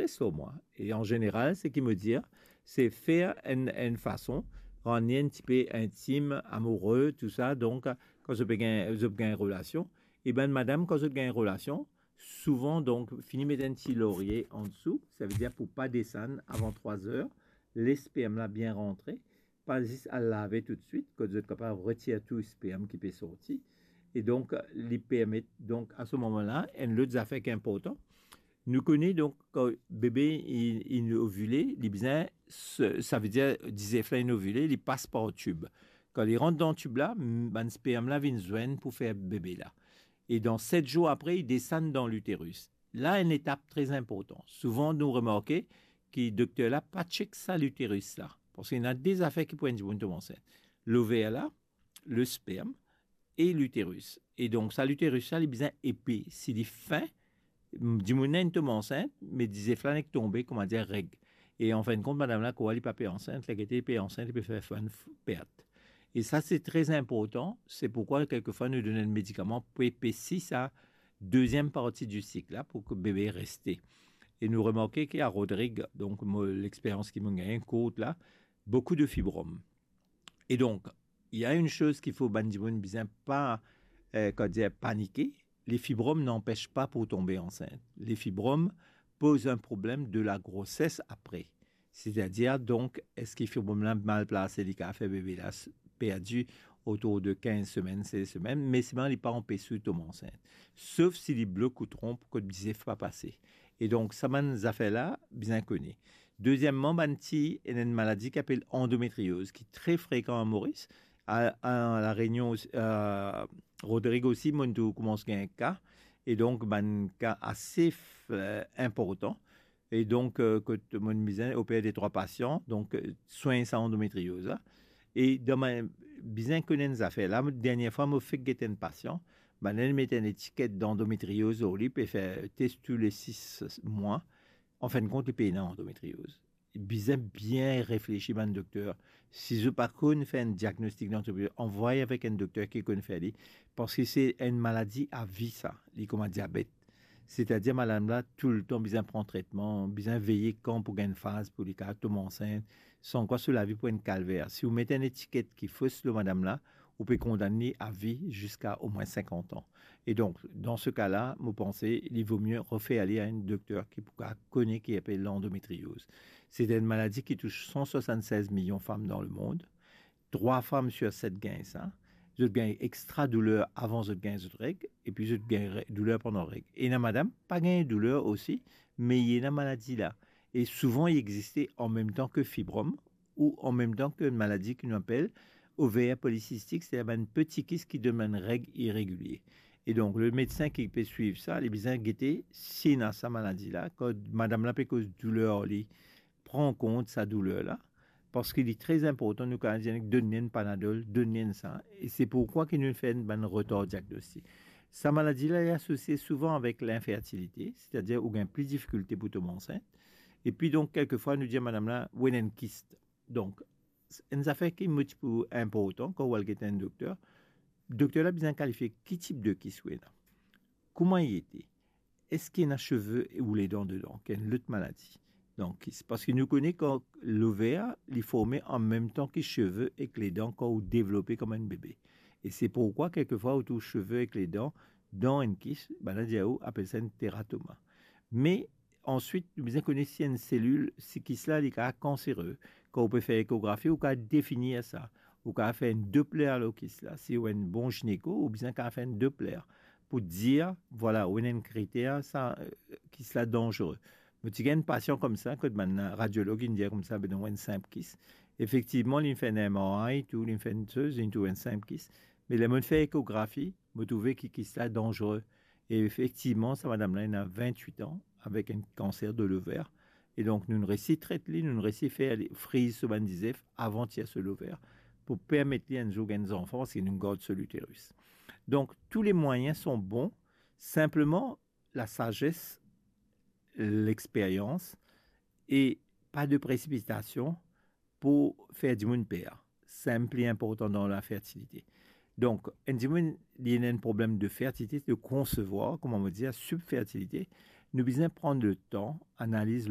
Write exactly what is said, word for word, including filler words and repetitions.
Test lor mwa. E an zeneral, seki mo dir, se fer enn, enn fason, rann li enn tipe intim, amoure, tou sa. Donk, kan zot pe gagn, zot pe gagn relasion, e bann madam, kan zot gagn relasion, souvan, donk, fini met enn ti lorie ansou, savedir pou pa desann avan trwa zer, les sperm la bien rantre, pa zis al lave toutswit, kot zot kapav retir tou sperm ki pe sorti. E donk, li permet, donk, a se moman la, enn lot zafer ki inportan, nou kone, donk, kan bebe, li, li ovile, li bizin, se, savedir, dizef la, li ovile, li pas par tib. Kan li rant dan tib la, m-, bann sperm la vinn zwenn pou fer bebe la. E dan set zour apre, li desann dan literis. La, enn etap tre inportan. Souvan, nou remarke ki dokter la pa chek sa literis la. Parski ena de zafer ki pou enn dimoun tom ansint. Lover la, le sperm e literis. E donk, sa literis la, li bizin epe. Si li fin, dimoun la inn tom ansint, me dizef la nek tonbe, koumadir reg. E anfinn kont, madam la krwar li pa pe ansint, li gete li pe ansint, li pe fer fann f-, pert. E sa, se tre inportan. Se pourkwa, kelkefwa, nou donn enn medikaman pou epesi sa deziem parti di sik la, pou ki bebe reste. E nou remarke ki a Rodrig, donk, mo, lexperyans ki mo gagne kourt la, boukou de fibrom. E donk, il y a une chose qu'il faut bann dimoun bizin pa, eh, kouma dir, panike. Les fibromes n'empêchent pas pour tomber enceinte. Les fibromes posent un problème de la grossesse après. Setadir, donk, eski fibrom la mal plase, li kapav fer bebe la s-, perdi otour de kinz semenn, sez semenn, me selman li pa anpes ou tom ansint. Sof si li blok ou tronp kot dizef pa pase. E donk, sa bann zafer la, bizin kone. Dezieman, bann ti, ena enn maladi ki apel andometrioz, ki tre frekan a Moris. A, a La Renion osi, a Rodrig osi, mo'nn tou koumans gagn ka. E donk, bann ka ase f-, eh, inportan. E donk, eh, kot mo'nn bizin oper de trwa pasian, donk, eh, swegn sa andometrioz la. E dan bann, bizin kone enn zafer la, mo, dernie fwa, mo fek get enn pasian, bannla met enn etiket dandometrioz lor li, pe fer tes tou le sis mwa. Anfinn kont, li pena andometrioz. Bizin bien reflesi, bann dokter. Si zot pa konn fer enn diagnostik dandometrioz, anvway avek enn dokter ki konn fer li, parski se enn maladi a vi sa, li kouma diabet. Setadir, madam la, toultan bizin pran tretman, bizin veye kan pou gagn faz, pou li kapav tom ansint, sankwa so lavi pou enn kalver. Si ou met enn etiket ki fos lor madam la, ou pe kondann li a vi ziska omwin sinkant an. E donk, dan se ka la, mo panse, li vo mie refer li a enn dokter ki pou kapav kone ki apel landometrioz. Se enn maladi ki tous san swasann-sez milion fam dan lemond. Trwa fam sir set gagn sa. Zot gagn extra douler avan zot gagn zot reg, epi zot gagn re-, douler pandan reg. Ena madam, pa gagn douler osi, me li ena maladi la. E souvan, li existe an mem tan ki fibrom, ou an mem tan ki enn maladi ki nou apel over polisistik, setadir bann peti kis ki donn bann reg iregilie. E donk, le medsin ki pe swiv sa, li bizin gete si ena sa maladi la. Kan madam la pe koz douler li, pran kont sa douler la, parski li tre inportan, nou kapav dir, donn li enn Panadol, donn li enn sa. E se pourkwa ki nou fer enn bann retar diagnostik. Sa maladi la, li asosie souvan avek linfertilite, setadir ou gagn pli difikilte pou tom ansint. Epi donk, kelkefwa, nou dir madam la, ou ena enn kis. Donk, enn zafer ki mo ti pou inportan, kan ou al get enn dokter, dokter la bizin kalifie ki tip de kis ou ena. Kouma li ete? Eski ena seve ou ledan dedan, ki enn lot maladi? Donk, kis, parski nou kone kan lover, li forme an mem tan ki seve ek ledan kan ou devlope kouma enn bebe. E se pourkwa, kelkefwa, ou trouv seve ek ledan dan enn kis, bannla dir ou, apel sa enn teratoma. Me answit, nou bizin kone si enn selil, si kis la, li kapav kansere. Kan ou pe fer ekografi, ou kapav definir sa. Ou kapav fer enn Doppler lor kis la. Si ou enn bon gineko, ou bizin kapav fer enn Doppler pou dir, vwala, ou ena enn kriter, sa, eh, kis la danzere. Mo ti gagn enn pasian koumsa, kot bann radiolog inn dir koumsa, be non, enn sinp kis. Efektivman, li finn enn M R I, tou, li finn enn soz, li trouv enn sinp kis. Me ler mo fer ekografi, mo trouve ki kis la danzere. E efektivman, sa madam la ena vintwit an, avek enn kanser de lover. E donk, nou resi tret li, nou resi fer li friz so bann dizef avan tir so lover, pou permet li enn zour gagn zanfan, parski nou gard so literis. Donk, tous les moyens sont bons, sinpleman, lasazes, lexperyans, e pa de presipitasion pou fer dimoun per. Sa enn pli inportan dan lafertilite. Donk, enn dimoun, li ena enn problem de fertilite, de konsevwar, kouma mo dir, subfertilite, nou bizin pran letan, analiz